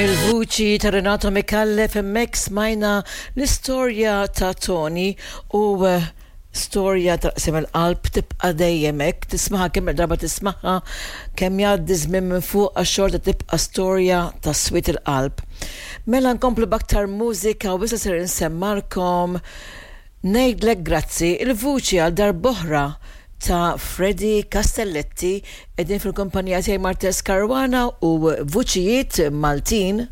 Mill-vuċi ta' Renato Micallef hemmhekk smajna l-istorja ta' Tony u eh, storja ta' qsim il-qalb tibqa' dejjem hekk, tismaha kemm darba tismaha, kemm jgħaddi żmien minn fuq xorta tibqa' storja ta' swied il-qalb. Mela nkomplu b'aktar mużika u issa ser insemmalkom Ngħidlek grazzi, il-vuċi għal darb'oħra ta' Freddie Castelletti, qegħdin fil-kumpanija tiegħi Martez Caruana u vuċijiet Maltin.